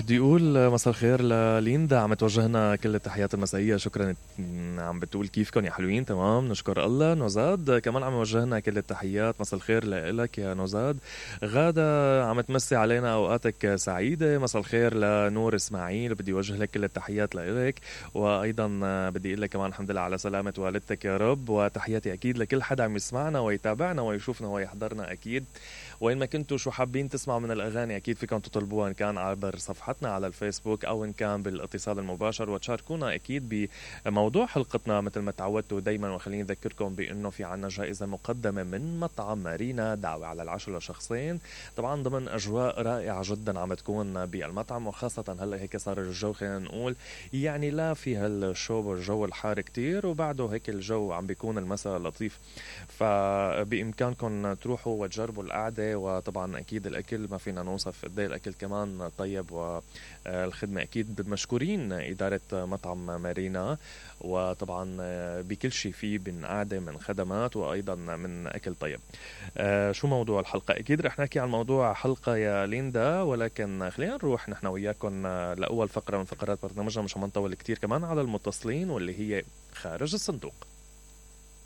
بدي اقول مساء الخير لليندا، عم توجهنا كل التحيات المسائية. شكرا. عم بتقول كيفكن يا حلوين؟ تمام نشكر الله. نوزاد كمان عم يوجهنا كل التحيات، مساء الخير لك يا نوزاد. غادة عم تمسي علينا اوقاتك سعيدة، مساء الخير لنور اسماعيل، بدي اوجه لك كل التحيات لك. وايضا بدي اقول لك كمان الحمد لله على سلامة والدتك يا رب، وتحياتي اكيد لكل حدا عم يسمعنا ويتابعنا ويشوفنا ويحضرنا اكيد. وين ما كنتوا شو حابين تسمعوا من الأغاني أكيد فيكم تطلبوها، إن كان عبر صفحتنا على الفيسبوك أو إن كان بالاتصال المباشر، وتشاركونا أكيد بموضوع حلقتنا مثل ما تعودتوا دايما. وخليني أذكركم بأنه في عنا جائزة مقدمة من مطعم مارينا، دعوة على العشاء لشخصين، طبعا ضمن أجواء رائعة جدا عم تكون بالمطعم. وخاصة هلأ هيك صار الجو خلينا نقول يعني لا في هالشو والجو الحار كتير، وبعده هيك الجو عم بيكون المساء لطيف، فبإمكانكم تروحوا وتجربوا القعدة. وطبعا أكيد الأكل ما فينا نوصف قد ايه الأكل كمان طيب، والخدمة أكيد مشكورين إدارة مطعم مارينا. وطبعا بكل شيء فيه من قعدة من خدمات وأيضا من أكل طيب. شو موضوع الحلقة؟ أكيد رح نحكي عن موضوع حلقة يا ليندا، ولكن خلينا نروح نحن وياكم لأول فقرة من فقرات برنامجنا، مش عم نطول كتير كمان على المتصلين واللي هي خارج الصندوق.